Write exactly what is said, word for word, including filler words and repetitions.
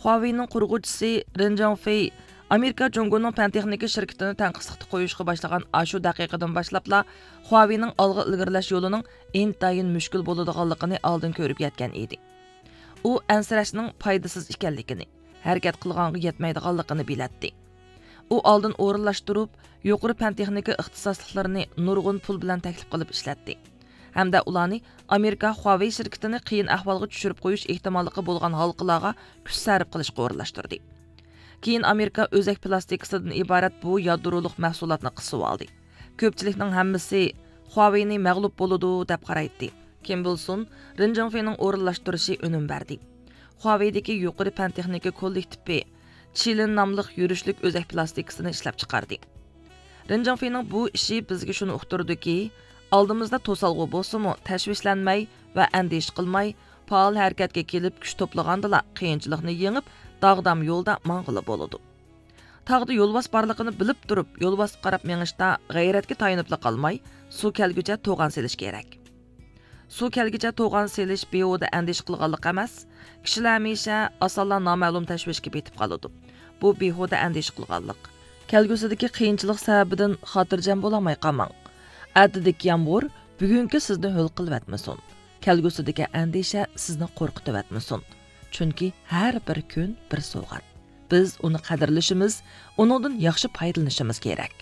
خۇاۋېينىڭ قۇرغۇچىسى رېن جاڭفېي ئامېرىكا جۇڭگونىڭ پەن تېخنىكا شىركىتىنى تەنقىدلىقتا قويۇشقا باشلىغان ئاشۇ دەقىقىدىن باشلاپلا خۇاۋېينىڭ ئالغا ئىلگىرىلەش يولىنىڭ ئىنتايىن مۈشكۈل بولىدىغانلىقىنى ئالدىن كۆرۈپ يەتكەن ئىدى. ئۇ ئەنسىرەشنىڭ پايدىسىز ئىكەنلىكىنى، ھەرىكەت قىلغانغا يەتمەيدىغانلىقىنى بىلەتتى. ئۇ ئالدىن ئورۇنلاشتۇرۇپ، يۇقىرى پەن تېخنىكا ئىختىساسلىقلىرىنى نۇرغۇن پۇل بىلەن تەكلىپ قىلىپ ئىشلەتتى. ھەمدە ئۇلارنى ئامېرىكا خۇاۋېي شىركىتىنى قىيىن ئەھۋالغا چۈشۈرۈپ قويۇش ئېھتىماللىقى بولغان ھالقىلارغا كۈچ سەرپ قىلىشقا ئورۇنلاشتۇردى. كېيىن ئامېرىكا ئۆزەك پىلاستىكىسىدىن ئىبارەت بۇ يادرولۇق مەھسۇلاتنى قىسىۋالدى. كۆپچىلىكنىڭ ھەممىسى خۇاۋېينى مەغلۇپ بولىدۇ دەپ قارايتتى. كىم بولسۇن، رېن جىڭفېينىڭ ئورۇنلاشتۇرۇشى ئۈنۈم بەردى. خۇاۋېيدىكى يۇقىرى پەن تېخنىكا كوللېكتىپى چىلىن ناملىق يۈرۈشلۈك ئۆزەك پىلاستىكىسىنى ئىشلەپ چىقاردى. رېن جىڭفېينىڭ بۇ ئىشى بىزگە شۇنى ئۇقتۇرىدۇكى، ئالدىمىزدا توسالغۇ بولسىمۇ، تەشۋىشلەنمەي ۋە ئەندىشە قىلماي، پائال ھەرىكەتكە كېلىپ، كۈچ توپلىغاندىلا، قىيىنچىلىقنى يېڭىپ، داغدام يولدا ماڭغىلى بولىدۇ. تاغدا يولۋاس بارلىقىنى بىلىپ تۇرۇپ، يولۋاسقا قاراپ مېڭىشتا غەيرەتكە تايىنىپلا قالماي، سۇ كەلگۈچە توغان سېلىش كېرەك. سۇ كەلگۈچە توغان سېلىش بىھۇدە ئەندىشە قىلغانلىق ئەمەس. كىشىلەر ھەمىشە ئاسانلا نامەلۇم تەشۋىشكە پېتىپ قالىدۇ. بۇ بىھۇدە ئەندىشە قىلغانلىق. كەلگۈسىدىكى قىيىنچىلىق سەۋەبىدىن خاتىرجەم بولالماي قالماڭ. ئەتىدىكى يامغۇر بۈگۈنكى سىزنى ھۆل قىلىۋەتمىسۇن. كەلگۈسىدىكى ئەندىشە سىزنى قورقۇتۇۋەتمىسۇن. چۈنكى ھەر بىر كۈن بىر سوۋغات. بىز ئۇنى قەدىرلىشىمىز، ئۇنىڭدىن ياخشى پايدىلىنىشىمىز كېرەك.